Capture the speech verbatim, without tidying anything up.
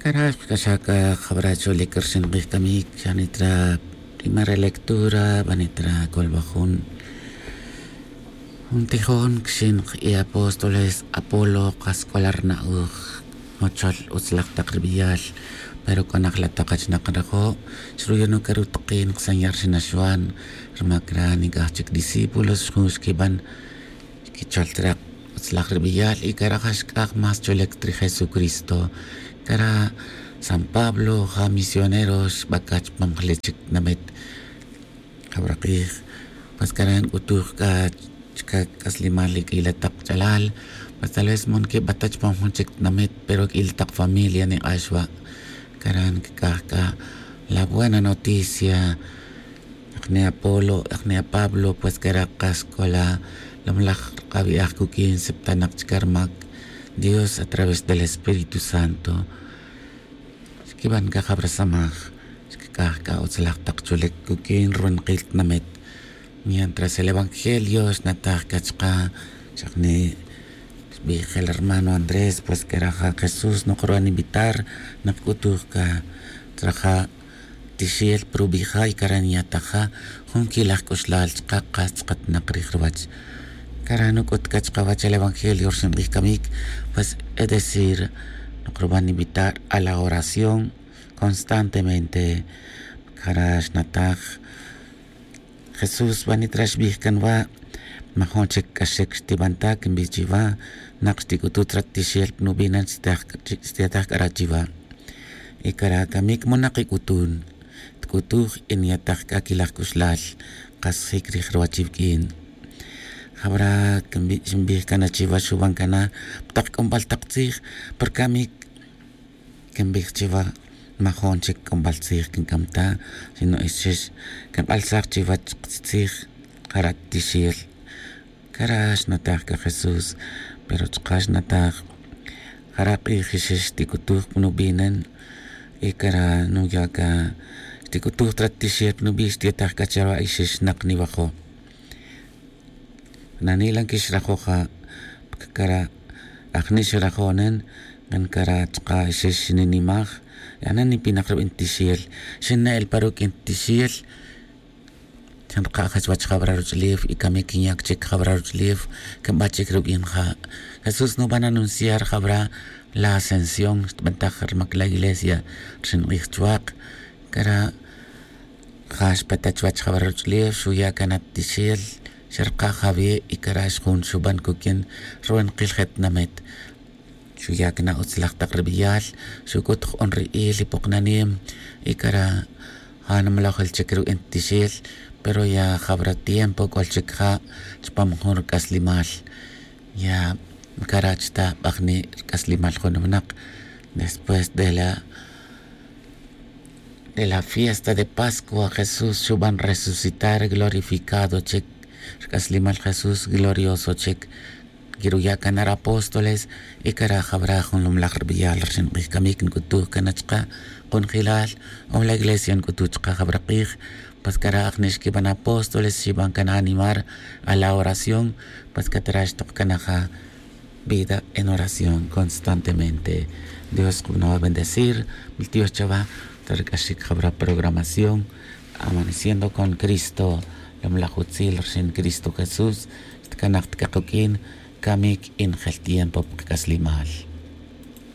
Cara' xkac'axaj c'a jabara' cholic rxin k'ij camic xanit ra primera lectura banit ra colbajun. Jun tijon cxin i apóstoles apolo kas c'o la rna'oj, jochol utz laj tak rbeyal. Pero c'a najla' tak achnak nrajo' xruyon uke' rutukin ksanya' rxin axwan. Rma cara' nic'aj chic discípulos jun xquiban xquichol trak' utz laj rbeyal y cara' ja xc'aj más cholic ta ri jesucristo. Cara' san pablo ja misionero xbaca chupam jle chic tinamit. Jabara' k'ij pues cara' nc'utuj c'a chica c'aslimal q'uila' tak ch'alal. Pues tal vez man quibata chupam jun chic tinamit pero q'uila' tak familia nik'ax wa'. Cara' ncac'aj c'a la buena noticia. Ajni' apolo ajni' apablo pues cara' kas c'o la lomlaj rkabi'aj cuq'uin siptanak chica rmac dios a través del espíritu santo. Xquiban c'a jabara' samaj xcac'aj c'a utz laj tak cholic cuq'uin ruwenakil tinamit. Mientras el evangelio xnataj c'a chka' xajni' xbij el hermano andrés pues cara' ja jesús nokruban invitar. Nakc'utuj c'a raja' tixel pa rubija' y cara' ninya'taj ja jun quilaj c'uxlal chka' kas tz'akatnak rij ruwach. Cara' nuc'ut c'a chkawach el evangelio rxin k'ij camic pues es decir nokruban invitar a la oración constantemente. Cara' xnataj jesús banit ra xbij can wa'. Majun chic c'axchic xtiban ta quinbij chiwa. Nak xtic'utut rat tixel pa nubinan xtiyataj c'a ra chiwa. Y cara' camic monak ic'utun tc'utuj y niyataj c'a quilaj c'uxlal. Kas jic rij ruwach iwq'uin jabara' xinbij can na chiwa xuban can na pa tak c'unbal tak tzij. Pa rcamic quinbij chiwa majun chic c'unbal tzij quinc'am ta sino ixix quink'alsaj chiwach tzij. Jara' tixel cara' xnataj c'a jesús. Pero chka' xnataj jara' k'ij ixix xtic'utuj pa nubinan. Y cara' nuya' c'a xtic'utuj ta rat tixel pa nubi' xtiyataj c'a chara' ixix xnak niwajo'. Nani' la nquixrajo' ja' cara' ajni' xrajo'nen. Ngan cara' chka' ixix xinimaj. Ajni' nipinak rubi' nitixel xinne'el pa ruq'uin tixel. Xinrka' jach wach jabara' ruch'ulef y camic quinya' chic jabara' ruch'ulef. Quinba chic rubi' ja' jesús nuban anunciar jabara' la ascensión xtbantaj rmac la iglesia rxin k'ij chuak'. Cara' ja xpe ta chuwech jabara' ruch'ulef xuya' can na tixel. Xerka' jawi' y cara' xjun xuban cuq'uin ruwenakil je tinamit. Xuya' can na utz laj tak rbeyal xuc'ut jun ri'il y poknanim. Y cara' ja nimalojel chic ruwi' nitixel pero ya jabara' tiempo c'ol chic ja' chupam jun ruc'aslemal. Ya ncarach ta bajni' ruc'aslemal jun winak. Después de la de la fiesta de pascua jesús xuban resucitar glorificado chic. Ruc'aslemal jesús glorioso chic. Quiruya' can na ri apóstoles y cara' jabara' jun lomlaj rbeyal rxin k'ij camic nc'utuj can na chka' kunjelal. O la iglesia nc'utuj chka' jabara' k'ij. Pues cara' ajni' xquiban apóstoles xiban can na animar a la oración. Pues catara' xtok can na ja vida en oración constantemente. Dios kunawa' bendecir. Miltiox chawa' ta ruc'axic jabara' programación amaneciendo con cristo. Lomlaj utzil rxin cristo jesús. Xtcanak ta c'a kuq'uin camic y njel tiempo pa kac'aslemal.